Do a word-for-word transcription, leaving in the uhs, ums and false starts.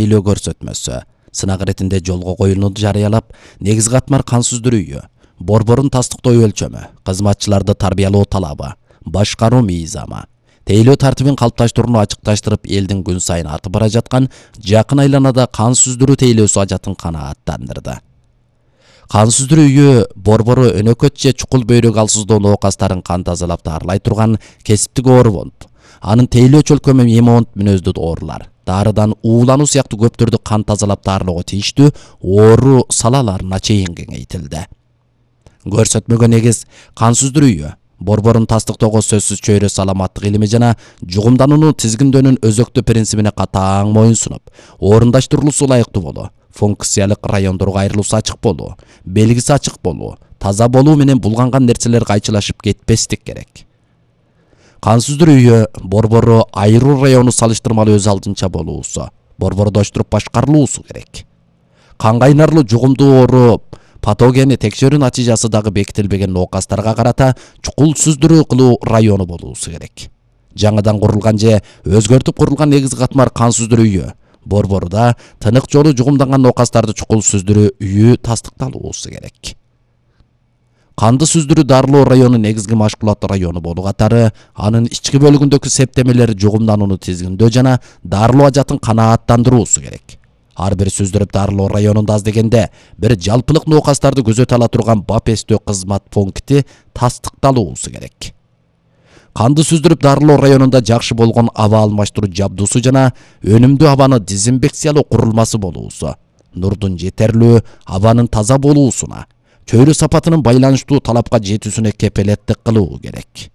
тейлөө көрсөтмөсү сынак иретинде жолго коюлууну жарыялап, негизги катмар кан сүздүрүүгө, борборун тастыктоо өлчөмү, кызматчыларды тарбиялоо талабы, башкаруу мыйзамы, тейлөө тартибин калыпташтырууну ачыкташтырып, элдин күн сайын артып бара жаткан жакын айланада кан сүздүрүү тейлөөсү ажатын канааттандырды. Кан сүздүрүүгө борбору өнөкөт же чукул бөйрөк алсыздоо оокастарын кан тазалап дарылай турган кесиптик оорубонд, анын тейлөө чөлкөмү эмонт мүнөздүү оорулар, дарыдан уулануу сыяктуу көптөрдү кан тазалап дарылоого тийиштүү оору салаларына чейин кеңейтилди. Көрсөтмөгө негиз кан сүздүрүүгө, борборун тастыктоого сөзсүз чөйрө саламаттык илими жана жугумдануунун тизгиндөөнүн өзөктүү принцибине катаң моюн сунуп, орундаштырылуусу ылайыктуу болуу, функциялык райондорго айрылуусу ачык болуу, белгиси ачык болуу, таза болуу менен булганган нерселер кайчылашып кетпестик керек. Кан сүздүрүүгө борбору айруу району салыштырмалуу өз алдынча болуусу, борбордоштуруп башкарылуусу керек. Кан кайнарлуу жугумдуу оору патогени текшерүү натыйжасы дагы бекитилбеген оокастарга карата чукул сүздүрүү кылуу району болуусу керек. Жаңыдан курулган же өзгөртүп курулган негизги катмар кан сүздүрүүгө, борборуда тынык жолу жугумданган оокастарды чукул сүздүрүү үйү тастыкталуусу керек. Канды сүздүрүү дарылоо району негизги машгулат району болуу катары, анын ички бөлүгүндөгү септемелер жугумданууну тизгиндөө жана дарылоо ажатын канааттандыруусу керек. Ар бир сүздүрүп дарылоо районунда аз дегенде бир жалпылык оокастарды көзөтө ала турган бап эстөө кызмат пункти тастыкталуусу керек. Канды сүздүрүп дарылоо районунда жакшы болгон аба алмаштыруу жабдуусу жана өнүмдүү абаны дезинфекциялоо курулмасы болуусу, нурдун жетерлүү, абанын таза болуусуна, чөйрө сапатынын байланыштуу талапка жетүүсүнө кепелеттик кылуу керек.